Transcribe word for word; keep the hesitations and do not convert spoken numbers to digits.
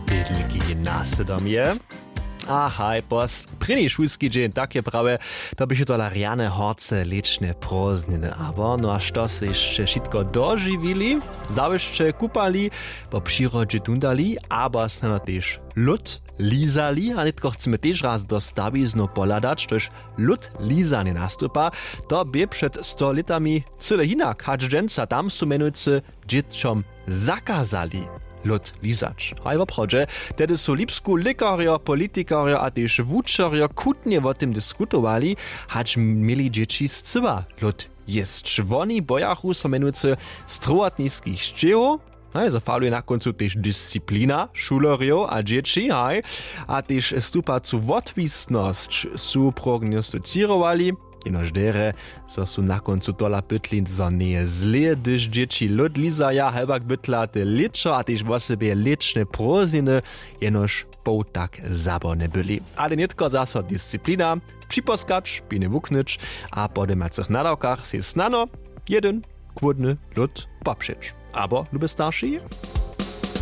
Bědliki je nasydomje. A haj pos prěni šulski dźeń, tak je prawje. To běchu tola rjane horce lěčne prózdniny abo no a što se hišće wšitko dožiwili? Zawěsće kupali, po přirodźe tundali abo snano tež lód lizali a nětko chcemy tež raz do stawiznow pohladać štož lód lizanje nastupa. To bě před sto lětami cyle hinak hač dźensa tam su mjenujcy dźěćom zakazali lód lizać. Haj woprawdźe, tehdy su lipsku lěkarjo politikarjo a tež wučerjo chutnje wo tym diskutowali, hač měli dźěći scyła lód jěsć. Woni bojachu so mjenujcy strowotniskich sćěhow. Haj zo faluje na kóncu tež disciplina šulerjow a dźěći haj a tež stupacu wotwisnosć su prognostizěrowali. Jenož derje zo su na kóncu tola pytli zo njeje zlě hdyž dźěći lód lizaja hewak bytla te lěćo a tež wosebje lěčne prózdniny jenož poł tak zaborne byli. Ale nětko zaso disciplina, připoskać piny wuknyć a po dymacych nadawkach sej snano jedyn chłódny lód popřeć. Abo lube starši,